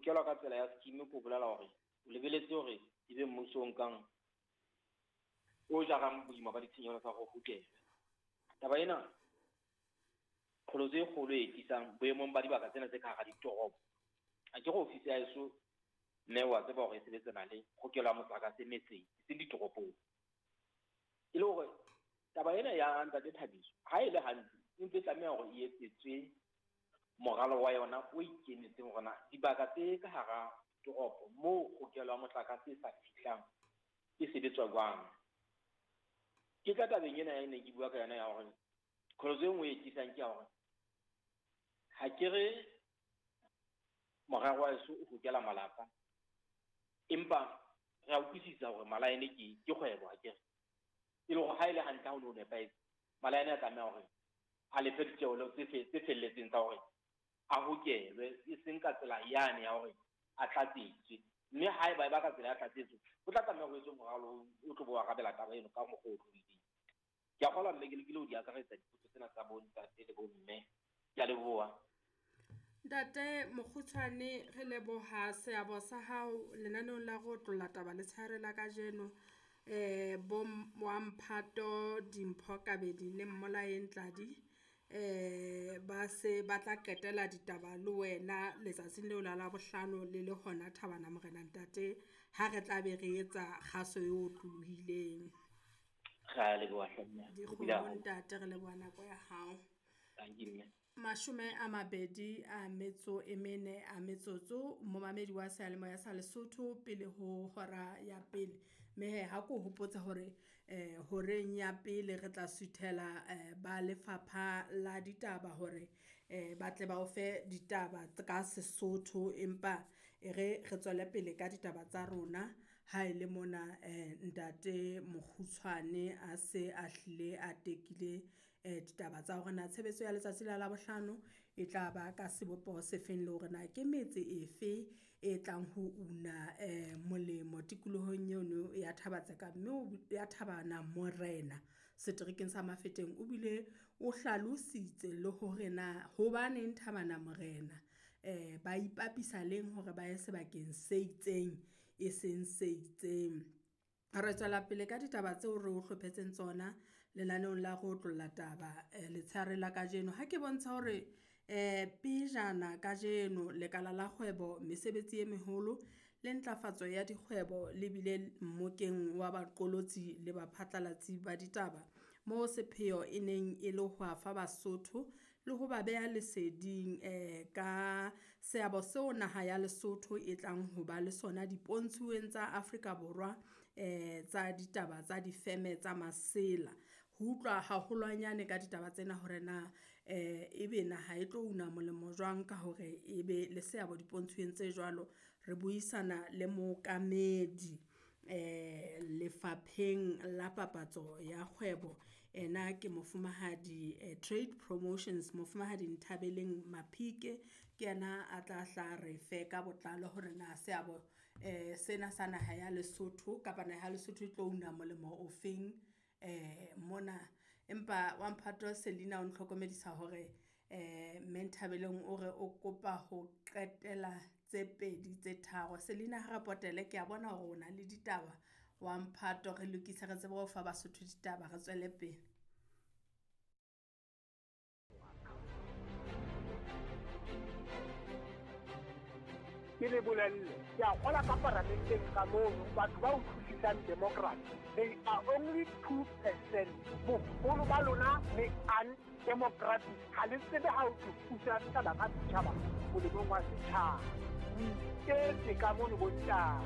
hokelwa ka tsela ya scheme ko bolela hore o lebeletse hore ebe mmuso o nkang o jarang boima ba ditshenyehelo tsa ho hokelwa. Taba ena qholotso e kgolo e tlisang boemong ba dibaka tsena tse ka hara ditoropo. Ha ke re ofisi ya heso mme wa tseba hore e sebetsana le hokelo ya motlakase metseng, eseng ditoropong. E le hore taba ena ya ntate Thabiso ha e le hantle e ntse e tlameha hore e etsetswe moralo wa yona o ikemetseng hore na dibaka tse ka hara toropo moo hokelo ya motlakase e sa fihlang e sebetswa jwang. Ke tla tabeng ena ya neng ke bua ka yona ya hore qholotso e nngwe e tlisang ke ya hore ha ke re morero wa heso o hokela malapa, empa re a utlwisisa hore malaene ke kgwebo ha ke re. E le hore ha e le hantle ha o no nepahetse, malaene a tlameha hore a lefe ditjeho tse felletseng tsa hore a hokelwe, e seng ka tsela yane ya hore a tlatsetswe. Mme haeba e ba ka tsela ya tlatsetso, o tla tlameha ho etswe moralo o tlo bo arabela taba eno ka mokgwa o otlolohileng. Ke a kgolwa mme ke lekile ho di akaretsa dipotso tsena tsa bo ntate le bo mme. Ke a leboha. Ntate Mokgutshwane, re leboha seabo sa hao lenaneong la go otlolla taba letshehare la kajeno. Bo wa Mphato Dimpho Kabedi le Mmolaeng Tladi ba se ba tla qetela ditaba le wena letsatsing leo la Labohlano le le hona Thabana Morena ntate, ha re tla be re etsa kgaso e otlolohileng. Re a leboha hle mme. Dikgomo ntate, re leboha nako ya hao. Thank you mme. 24 a metsotso momamedi wa seyalemoya sa Lesotho pele ho hora ya pele. Mme ha ko hopotsa hore horeng ya pele re tla suthela ba lefapha la ditaba hore ba tle ba o fe ditaba ka Sesotho, empa e re re tswele pele ka ditaba tsa rona. Ha e le mona ntate Mokgutshwane a se a hlile a tekile ditaba tsa hore na tshebetso ya letsatsi la Labohlano e tla ba ka sebopeho se feng, le hore na ke metse efe e tlang ho una molemo tikolohong eno ya Thaba-Tseka, mme ya Thabana Morena seterekeng sa Mafeteng. O bile o hlalositse le hore na hobaneng Thabana Morena ba ipapisa leng hore ba ye sebakeng se itseng e seng se itseng. Re tswela pele ka ditaba tseo re o hlophetseng tsona lenaneong la go otlolla taba letshehare la kajeno. Ha ke bontsha hore pejana kajeno lekala la kgwebo, mesebetsi e meholo le ntlafatso ya dikgwebo le bile mmokeng wa baqolotsi le baphatlalatsi ba ditaba, moo sepheo e neng e le ho afa Basotho le ho ba beha leseding ka seabo seo naha ya Lesotho e tlang ho ba le sona dipontshuweng tsa Afrika Borwa tsa ditaba tsa difeme tsa masela. Ho utlwa haholwanyane ka ditaba tsena hore na ebe naha e tlo una molemo jwang ka hore ebe le seabo dipontshweng tse jwalo, re buisana le mookamedi lefapheng la papatso ya kgwebo. Ena ke mofumahadi Trade Promotions, mofumahadi Nthabeleng Maphike, ke yena a tla hla re fe ka botlalo hore na seabo sena sa naha ya Lesotho kapa naha ya Lesotho e tlo una molemo ofeng mona. Empa wa Mphato Selina o ntlhokomedisa hore mme Nthabeleng o re o kopa ho qetela tse pedi tse tharo. Selina ha re potele, ke a bona hore o na le ditaba wa Mphato, re lokise re tsebe ho fa Basotho ditaba, re tswele pele. Ke le bolelle, ke a kgola ka paramenteng ka mono, batho ba utlwisisang democracy, they are only 2%. Boholo ba lona le undemocratic, ha le tsebe ha o thusa setjhaba ka setjhaba molemong wa setjhaba. O iketse ka mono bontate.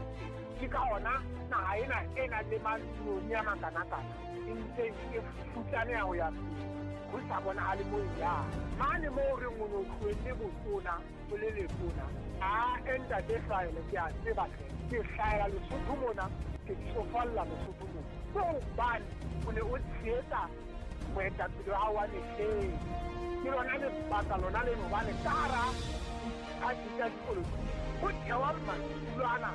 Ke ka hona naha ena e nang le matlong a makanakana e ntseng e futsaneha ho ya pele, ho sa bonahale moo e yang. Mane moo re o no tlohelle botona, o le letona, a ntate Hlahele, ke a tseba hle. Ke hlahela Lesotho mona, ke tsofalla Lesotho mona. Ke hobane o ne o tshehetsa moetapele wa hao wa mehleng. Ke lona lebaka lona leno, hobane ka hara diphathi tsa dipolotiki ho thewa madulo ana.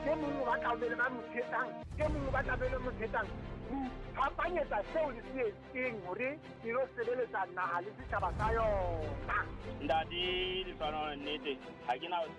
E mong o batla ho be le ba mo tshehetsang, e mong o batla ho be le mo tshehetsang. Ho iphapanyetsa seo le se etseng hore e lo sebeletsa naha le setjhaba sa yona. Ntate Lefano, nnete ha ke na ho